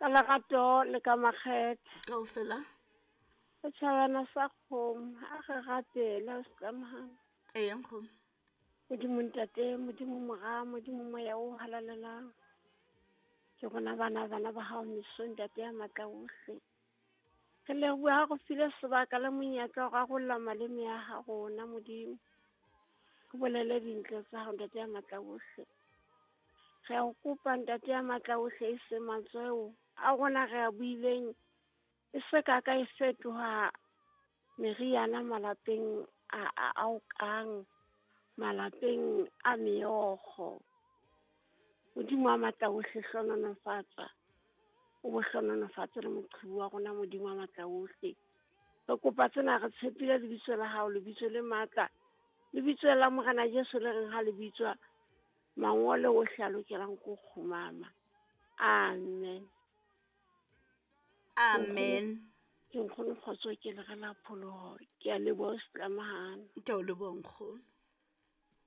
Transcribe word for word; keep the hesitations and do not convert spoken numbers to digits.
Ka lerato le ka makgethe. Kaofela. Setjhabana sa kgomo, a re rapele o setlamahana. Eya nkgono. Modimo Ntate, Modimo Mora, Modimo Moya o halalelang. Ke rona bana bana ba hao mesong Ntate ya matla ohle. Re leboha ha re file sebaka le monyetla wa ho rarolla maleme a ha rona Modimo. Re bolele dintle tsa hao Ntate ya matla ohle. Re a o kopa Ntate ya matla ohle e se mantswe a rona re a buileng e se ka ka e fetoha meriana malapeng a a ao kang malapeng a meokgo. Modimo wa matla ohle hlononofatsa. O bo hlononofatse le moqhubu wa rona Modimo wa matla ohle. Re kopa tsena re tshepile lebitso la hao, lebitso le matla. Lebitso la Morena Jesu le reng ha le bitswa mangolo ohle a lokelang ko kgumama. Amen. Amen. Ke nkgono kgotso ke le re la pholoho. Ke a leboha setlamahana. Ke a o leboha nkgono.